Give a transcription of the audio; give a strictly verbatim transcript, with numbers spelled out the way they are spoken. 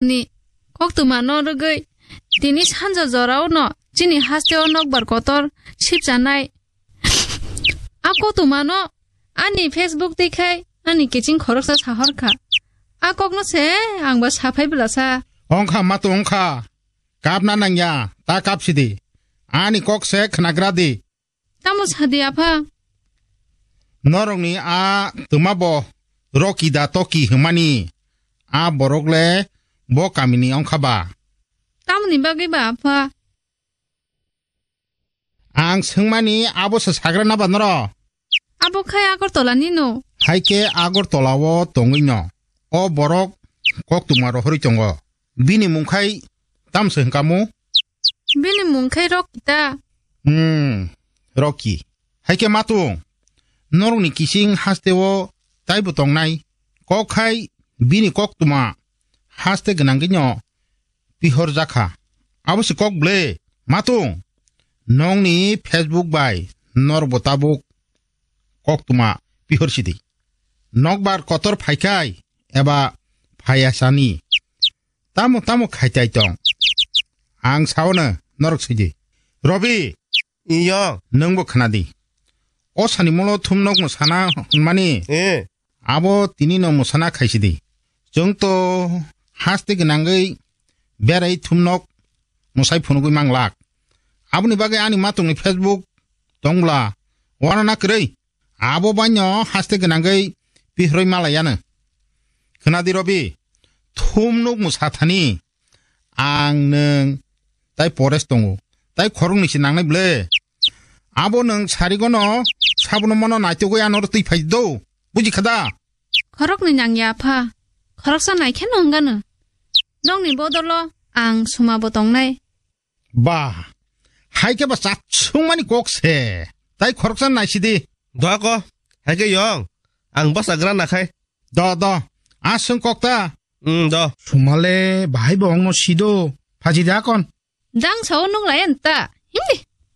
Ni koktwma no rwgwi tini sanja jorao no chini haste o nokbar kotor sipchanai. A koktwma no ani Facebook twi khai ani kiching khoroksa sahor kha. A kok no se ang ba saphai bwlasa. Ongkha mato ongkha. Kapna nangya, ta kapsidi. Ani kok se khnagra di. Tamo sadi, apha? Norokni a twma bo Rocky da Toki hwnmani a borok le bo kamini ongkha ba? Tamoni bagwi ba, apha? Ang swngmani abo se sagra na ba noro? Abo khai Agartala ni no. Hai khe Agartala o tongwi no. O borok koktwma rohorwi tongo. Bini mung khai tamo se hwnkha mu? Bini mung khai Rocky ta. Hmm, Rocky. Hai khe matung, norokni kising haste o taibo tongnai. Kok khai bini koktwma haste gwnangwi no pihor jakha. Abo se kok ble. Matung, nongni Facebook bai norbo tabuk koktwma pihor sidi. Nokbar kotor phaikai eba phaiya sani. Tamo tamo khaitai tong. Ang saono norok sidi. Robi. Iyo. Nwngbo khnadi. O sani molo thumnok mwsana hwnmani. Eh. Abo tini no mwsana khaisidi. Chwng to haste gwnangwi berai thumnok mwsai phunugwi manglak. Aboni bagwi ani matungni Facebook tongla wana na kwrwi. Abo baino haste gwnangwi pihroi malaiyano. Khwnadi Robi, thumnuk mwsa thani ang nwng tai pores tongo, tai khoroknwi se nangnai ble. Abo nwng sarigono sabono mono naitugwi anoro twi phai do, buji khada? Khoroknwi nangya apha, khoroksa naikhe no wngano. Nokni bodolo ang sumabo tongnai. Ba, hai khe ba chatsungmani kok se. Tai khoroksa naisidi. Do ako, hai khe yong, ang bwsa gra nakhai. Do, do, a swng kok ta. Hmm, do. Sumale bahai bo ongno sido, phaji da kon. Dang sao nuk layan ta, himdi.